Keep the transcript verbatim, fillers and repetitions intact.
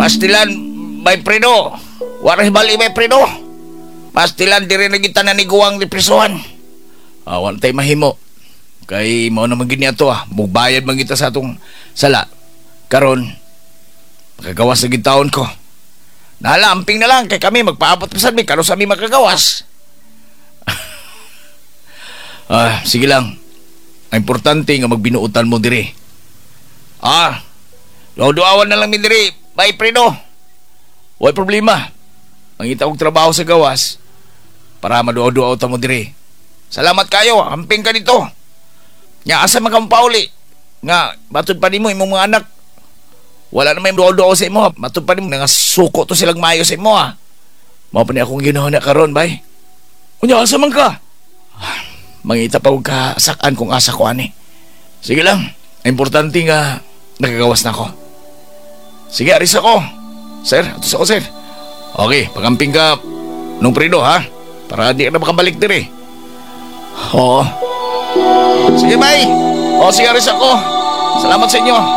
Pastilan, bay Fredo. Wala hibali, bay Fredo. Pastilan, diri na kita naniguang di prisuhan. Ah, wala tayo mahimo. Kay mao naman gini ato ah. Mugbayad man kita sa atong sala. Karon, makagawas na gid ko. Nala, amping na lang kay kami magpaabot pa sad mi karon sa mi makagawas. Ah, sige lang. Ang importante nga magbinuotan mo diri. Ah, duawan na lang mi diri. Bay Fredo. Way problema. Mangita og trabaho sa gawas para maduaw-duaw ta mo diri. Salamat kayo. Amping ka dito. Nya asa man ka pauli? Nga matod pa nimo imong mga anak. Wala na may duaw-duaw sa imo. Matod pa nimo nga suko to silang maayo sa imo ah. Mao pa ni akong ginawa na karon bay. Unya asa man ka? Ah, mangita pa og kasakan kung asa ko ani. Sige lang. Ang importante nga nakagawas na ako. Sige, aris ako. Sir, atos ako, sir. Okay, pagamping ka nung Fredo, ha? Para di ka na makabalik diri. Oo. Sige, bye. O, sige, aris ako. Salamat sa inyo.